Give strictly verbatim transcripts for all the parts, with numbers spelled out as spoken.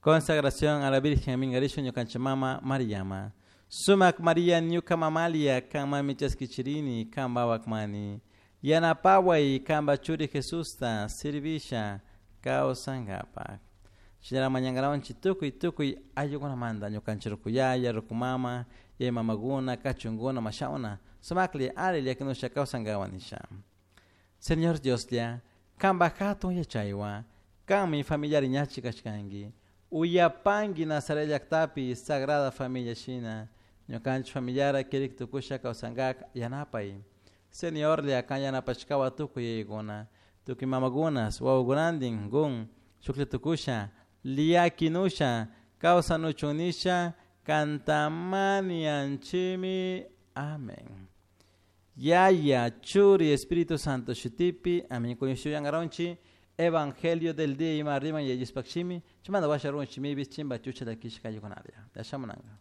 Consagración a la Virgen Mingarisho ñukanchik mama Mariama. Sumak Maria ñuka mamalia kanmami chaskichirini kanpa wakmani. Yanapaway kanpa churi Jesusta servisha kawsankapak. Shinara mañangarawanchik tukuy tukuy ayllukunamanta ñukanchik rukuyaya, rukumama, yaya mamakuna, kachunkuna, mashawna, sumakli ali llakinusha kawsankawan nisha. Señor Dioslla, kanpa hatun yachaywan, kanmi familiar ñachi kashkanki. Uyapanki Nazaret llaktapi Sagrada Familia shina, ñukanchik familiara kirik tukusha kawsankak yanapay. Señorlla kan yanapashkawa tukuy yaykuna, tukuy mamakunas, wawakunantin kun shuklla tukusha, liakinusha, kawsanuchun nisha, kantamanianchimi. Amén. Yaya, Churi, Espíritu Santo shutipi, amén. Kuñushuyangaronchi, Evangelio del día ima riman yayuspakshimi, chimanda washarun chimibis chimba chucha dakishka yukunaria. Yashamunanga.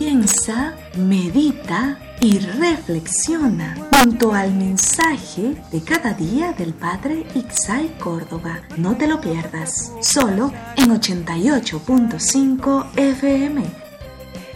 Piensa, medita y reflexiona junto al mensaje de cada día del Padre Ixay Córdoba. No te lo pierdas, solo en ochenta y ocho punto cinco F M.